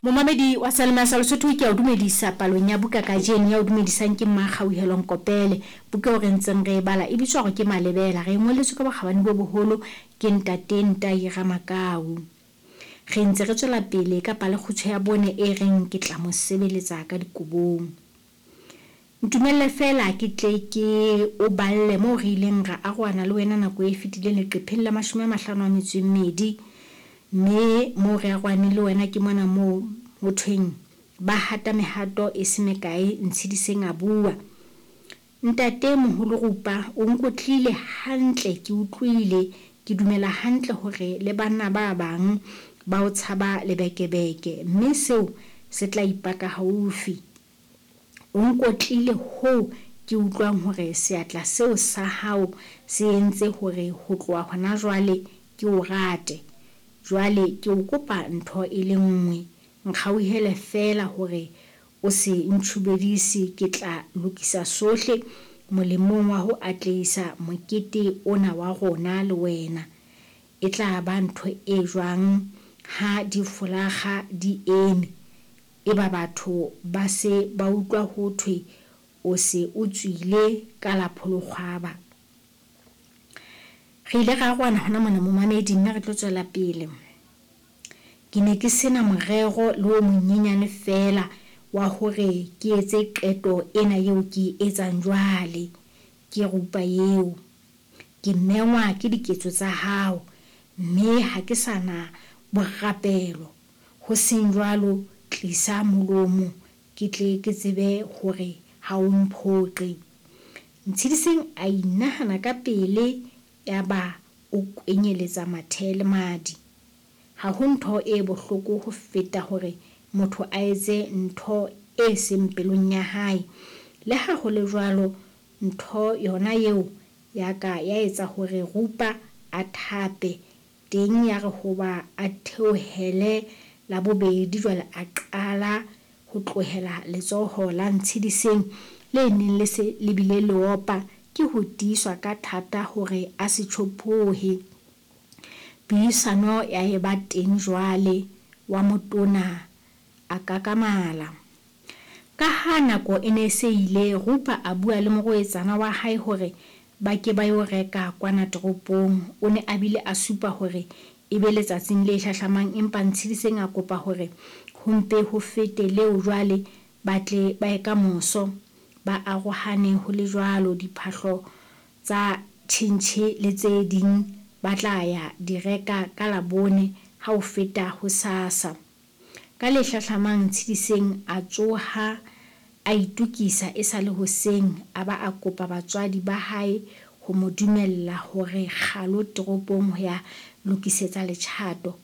Momamedi wa Selma sa Lesotho, ke a o dumedisa palong ya buka kajeno. Ya o dumedisang ke Mmakgauhelo Nkopele. Buka eo re ntseng re e bala e bitswa hore ke Malebela. Re e ngolletswe ka bokgabane bo boholo ke Ntate Ntai Ramakau. Re ntse re tswela pele ka palekgutshwe ya bone e reng Ke Tla Mo Sebeletsa Ka Dikobong. Ntumelle feela ke tle ke o balle moo re ileng ra arohana le wena nako e fetileng leqepheng la 52. Mme moo re arohaneng le wena ke mona moo ho thweng ba hata mehato e se mekae Ntshediseng a bua. Ntate moholo Rupa o nkotlile hantle ke utlwile, ke dumela hantle hore le banna ba bang ba o tshaba lebekebeke mme seo se tla ipaka haufi. O nkotlile hoo ke utlwang hore seatla seo sa hao se entse hore ho tloha hona jwale ke o rate. Jwale ke o kopa ntho e le nngwe, nkgauhele feela hore o se ntjhubedise ke tla lokisa sohle molemong wa ho atlehisa mokete ona wa rona le wena. E tla ba ntho e jwang ha difolakga di eme, eba batho ba se ba utlwa ho thwe o se o tswile ka la pholokgwaba? Re ile ra arohana hona mona momamedi mme re tlo tswela pele. Ke ne ke sena morero le o monyenyane feela wa hore ke etse qeto ena eo ke e etsang jwale. Ke Rupa eo. Ke mengwa ke diketso tsa hao mme ha ke sa na borapelo. Ho seng jwalo tlisa molomo ke tle ke tsebe hore ha o mphoqe. Ntshediseng a inahana ka pele yaba o kwenyeletsa mathe le madi. Ha ho ntho e bohloko ho feta hore motho a etse ntho e seng pelong ya hae. Le ha ho le jwalo, ntho yona eo ya ka ya etsa hore Rupa a thape. Teng ya re hoba a theohele la bobedi jwale a qala ho tlohela letsoho la Ntshediseng le neng le se le bile le opa ke ho tiiswa ka thata hore a se tjhophohe. Puisano ya eba teng jwale, wa motona a kakamala. Ka ha nako e ne e se ile, Rupa a bua le morwetsana wa hae hore ba ke ba yo reka kwana toropong. O ne a bile a supa hore e be letsatsing le hlahlamang empa Ntshediseng a kopa hore ho mpe ho fete leo jwale ba tle ba ye ka moso. Ba arohane ho le jwalo, diphahlo tsa tjhentjhe le tse ding ba tla ya di reka ka Labone ha ho feta hosasa. Ka le hlahlamang Ntshediseng a tsoha a itokisa e sa le hoseng a ba a kopa batswadi ba hae ho mo dumella hore kgalo toropong ho ya lokisetsa letjhato.